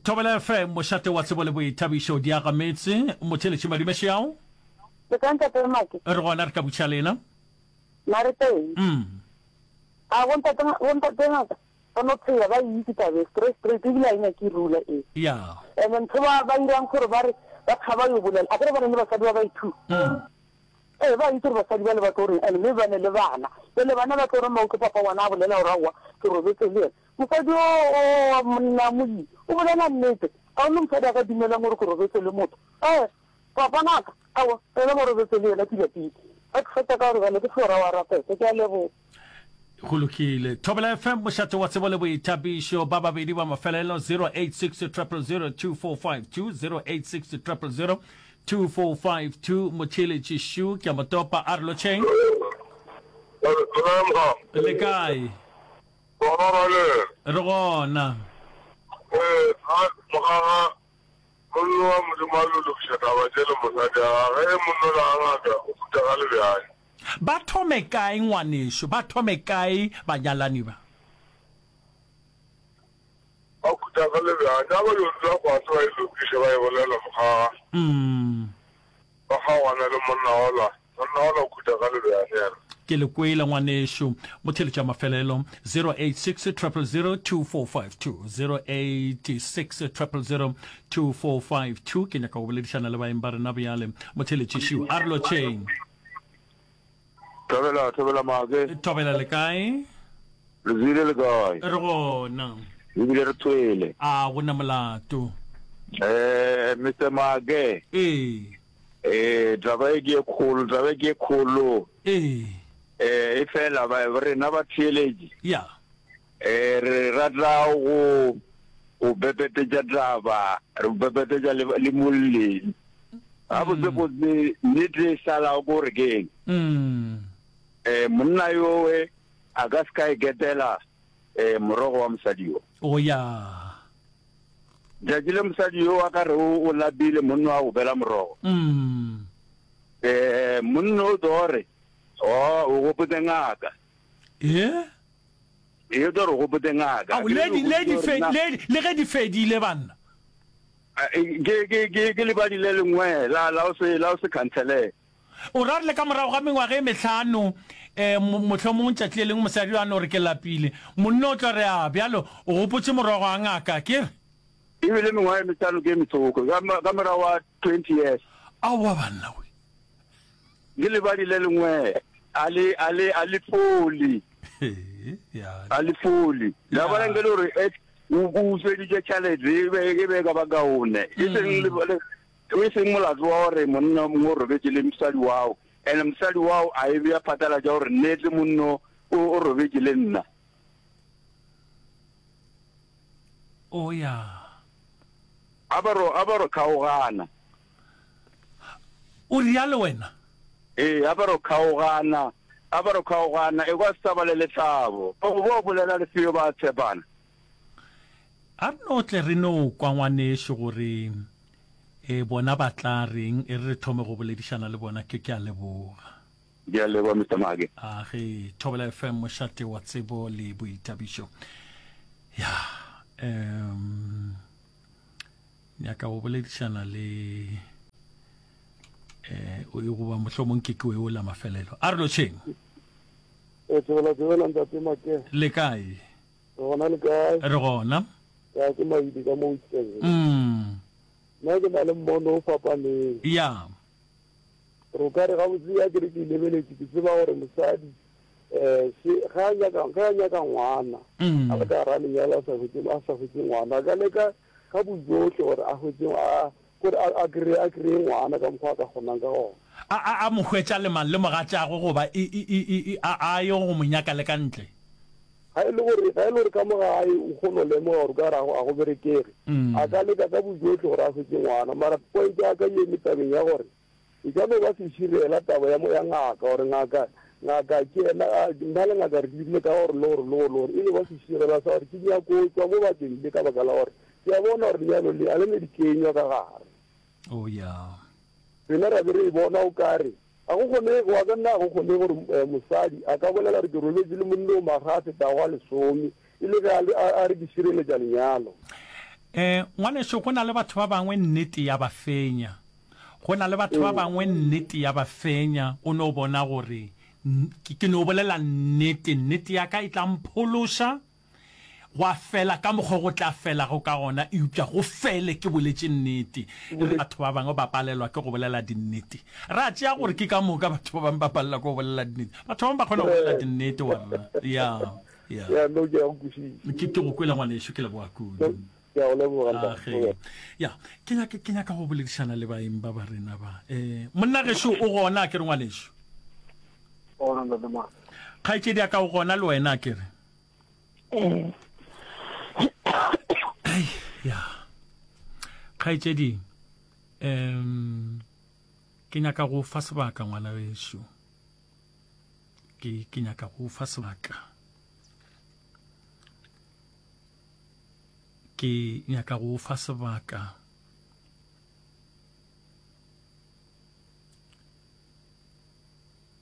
Thobela F M, mošate wa tsebo le boithabišo, Diagametse, Motheeletši Madume Šeao. Le kae ntate Make? Re gona, re ka butša lena. Na re teng. Mm. A bo ntate, bo ntate ngaka ba no phela ba e itse taba e straight straight ebile a e nyake rula e. Ya. And ntho ba ba irang gore ba re ba tshaba yo bolela a kere ba ne le basadi ba ba i two. Mm. Ee ba itse gore basadi ba le ba tlo reng and mme ba ne le bana. Jale bana ba tlo re ma utlwe papa ngwana a bolela gore aowa ke robetse le yena. Mosadi o o wa monna molemi o bolela nnete. Ga o ne mosadi a ka dumelang gore ke robetse le motho. Ee papa ngaka aowa yena ba robetse le yena pila pila. Ba ke fetša ka gore bjale ke Flora wa rapete. Ke a leboga. Go lokile. Thobela F M, mošate wa tsebo le boithabišo. Ba babedi ba mafelelo, zero eight six triple zero two four five two, zero eight six triple zero two four five two. Motheeletši Shu, ke a mo topa, a re lotšheng. Le kae? Re gona. Monna wa Modimo a lo lokiša taba tše le mosadi a gagwe, ge monna ola a ngaka o khutša ga lebjale. Ba thome kae ngwanešu? Ba thome kae banyalani ba? Ba khutša ga lebjale. A ba yo dula fase ba e lokiše ba e bolela mokgaga. Ba kgaogana le monna ola. Monna ola o khutša ga lebjale yena. Ke le kwele ngwanešu. Motheeletši wa mafelelo, zero eight six triple zero two four five two, zero eight six triple zero two four five two. Ke nyaka go boledišana le baeng ba rena bjale. Motheeletši Šiu, a re lotšheng. Thobela, thobela Make. Thobela le kae? Re tswile le kae? Re gona. Ebile re tswele. A go na molato. Eh, Mister Make. Ee. Eh, taba e ke ye kgolo, taba e ke ye kgolo. Ee. Eh, e fela ba rena ba theeletše. Ya. Eh, re rata go go bepetetša taba, re bepetetša le le molleng. Gabotse botse nnete e šalago ke gore ke eng? Mm. Eh, monna yowe a ka se ka e ketela eh morogo wa mosadi yo. O ya. Tšatši le mosadi yo a ka re o o lapile, monna wa gobela morogo. Mm. Eh, monna o tlo re, Oh, o gopotse ngaka. Eh? E o tlo re o gopotse ngaka. Ao, le di, le di fe, le, le ge di fedile, banna. Ke, ke, ke, ke lebadi le lengwe la, la o se, la o se khansele. O ra re le ka morago ga mengwaga e mehlano, eh, mohlomong tšatši le lengwe mosadi yo a no re ke lapile, monna o tlo re, A bjalo o gopotše morogo wa ngaka, ke re? E bile mengwaga e mehlano ke e metsoko, ka, ka morago ga twenty years. Aowa banna we. Ke lebadi le lengwe, a le, a le, a le fole. A le fole. La bona nke le gore, eh, o, o utsweditše tšhalete, e be, e be e ka ba kaone. E seng le, le, E seng molato wa gore monna o mongwe o robetše le mosadi wao, and mosadi wao a e bea phatlalatša gore nnete monno o o robetše le nna. O ya. A ba ro, a ba ro kgaogana. O realo wena? Ee, a ba ro kgaogana, a ba ro kgaogana, e kwa se sa ba le lethabo. O bo bolela le feo ba tshepana. A re no tle re no kwa ngwanešu gore e bona ba tla reng, e re re thome go boledišana le bona. Ke, ke a leboga. Ke a leboga, Mister Make. A ge, Thobela F M, mošate wa tsebo le boithabišo. Ya, um, nyaka go boledišana le eh o e goba mohlomong ke ke o la mafelelo. A re lotšheng. E tsebela tsebela ntate Make. Le kae? Re gona, le kae? Re gona. Ya, ke Maidi ka mo Witbank. Mm. Nna ke na le mmono o fapaneng. Ya. Re ka re gabotse ya ke re ke lebeletše, ke tseba gore mosadi eh se ga a nyaka, ge a nyaka ngwana, Mm. a le ka gara lenyalo a sa hwetše, a sa hwetše ngwana, a ka leka ka bojohle gore a hwetše, a gore a, a kry-e, a kry-e ngwana ka mokgwa a ka kgonang ka gona. A, a, a mo hwetša le mang, le mogatšagwe, goba e, e, e, e, e, a, a ye go mo nyaka le ka ntle? Ga e le gore, ga e le gore ka mo gae o kgona go lemoga gore ka re a go, a go berekege, Mm. a ka leka ka bojohle gore a hwetše ngwana. Mara point ya ka e eme tabeng ya gore e ka no ba seširela taba ya mo ya ngaka, gore ngaka, ngaka ke yena, a, nna le ngaka re dirile ka gore le gore le gore le gore, e no ba seširela sa gore ke nyako tšwa mo bakeng le ka baka la gore ke a bona gore lenyalo le a le ne dikenywa ka gare. Oh, yeah. Rena ra be re e bona o kare ga go kgonege, wa ka nna ga go kgonege gore, eh, mosadi a ka bolela gore ke robetše le monna o maga a fetago a lesome, e le ge a le, a, a re ke šireletša lenyalo. Eh, ngwanešu, go na le batho ba bangwe nnete ya ba fenya. Go na le batho ba Ee. bangwe nnete ya ba fenya, o no bona gore n-, ke, ke no bolela nnete, nnete ya ka e tla mphološa, gwa fela ka mokgwa go tla felago ka gona, eupša go fele ke boletše nnete. Batho ba bangwe ba palelwa ke go bolela dinnete. Ra tšea gore ke ka moka batho ba bangwe ba palelwa ke go bolela dinnete. Batho ba bangwe ba kgona go bolela dinnete, wa rra. Ya, ya. Ya, no, ke a go kwešiša. Ke, ke go kwele, ngwanešu, ke leboga kudu. No, ke a go leboga, ntate. Age. Ya, ke nyaka, ke nyaka go boledišana le baeng ba ba rena ba. Eh, monna gešo o gona, a ke re, ngwanešu? Gona, ntate Mark. Kgaetšedi ya ka o gona le wena, a ke re? Ee. Ai, ya. Kgaetšedi, em, ke nyaka go fa sebaka ngwana wešo. Ke, ke nyaka go fa sebaka. Ke nyaka go fa sebaka.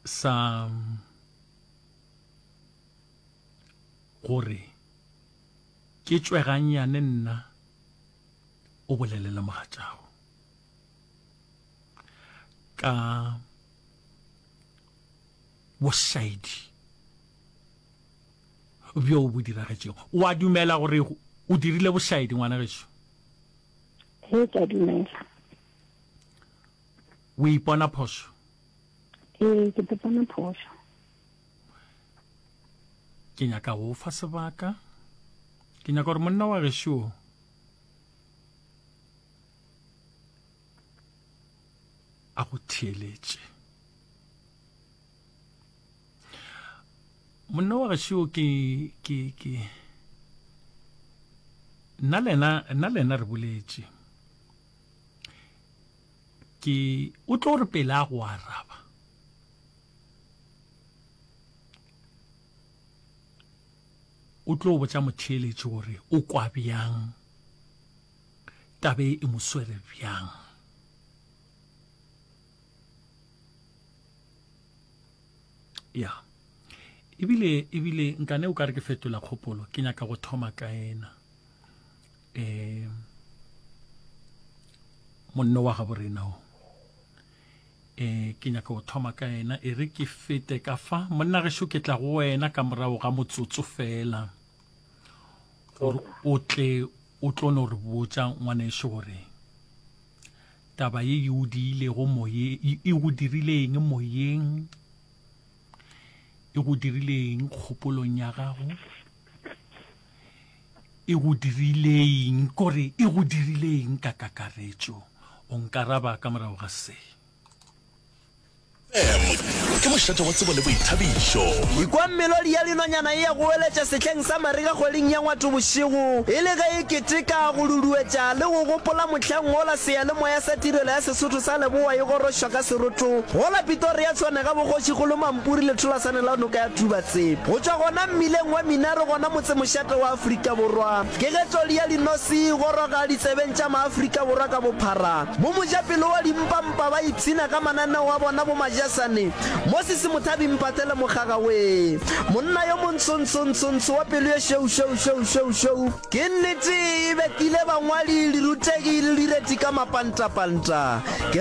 Sa gore ke tšwe gannyane nna o bolele le mogatšago ka bošaedi bjo bo diragetšego. O a dumela gore o dirile bošaedi, ngwana gešo? Ee, ke a dumela. O ipona phošo? Ee, ke ipona phošo. Ke nyaka go fa sebaka. Ke nyaka gore monna wa gešo a go theeletše. Monna wa gešo ke, ke, ke nna le yena, nna le yena re boletše. Ke o tlo re pele a go araba. O tlo botša motheeletši gore o kwa bjang, tabe e mo swere bjang. Ya. Ebile, ebile nkane o ka re ke fetola kgopolo, ke nyaka go thoma ka ena. Eh, monno wa gabo rena o. Eh, ke nyaka go thoma ka ena, e re ke fete ka fa. Monna gešo, ke tla go wena ka morago ga motsotso fela. Gore o tle, o tlo no re botša ngwanešu gore taba ye e o diilego moye-, e, e go dirile eng moyeng, e go dirile eng kgopolong ya gago, e go dirile eng, kore e go dirile eng ka kakaretšo. O nkaraba ka morago ga se. M ke mošate wa tsebo le boithabišo. Ekwa melodi ya dinonyana e a goeletša sehleng sa marega kgweding ya Ngwatobošego, e le ge e keteka, go duduetša le go gopola mohlang wola seyalemoya sa Tirelo ya Sesotho sa Leboa e gorošwa ka seroto gola Pitoria Tshwane ga boKgošikgolo Mampuri letholasane la noka ya Tubatse. Go tšwa gona mmileng wa Minaro gona motsemošate wa Afrika Borwa, ke ge toli ya dinose e goroga ditsebeng tša Maafrika Borwa ka bophara. Bomojapelo wa dimpampa ba ipshina ka mananeo a bona bomajasane, Moses Mothabi Mphathele Mokgaga wee! Monna yo montsho-ntsho-ntsho-ntsho wa pelo ye šweu-šweu-šweu-šweu-šweu. Ke nnete e bekile bangwadi, dirutegi le direti ka mapantapanta. Ke.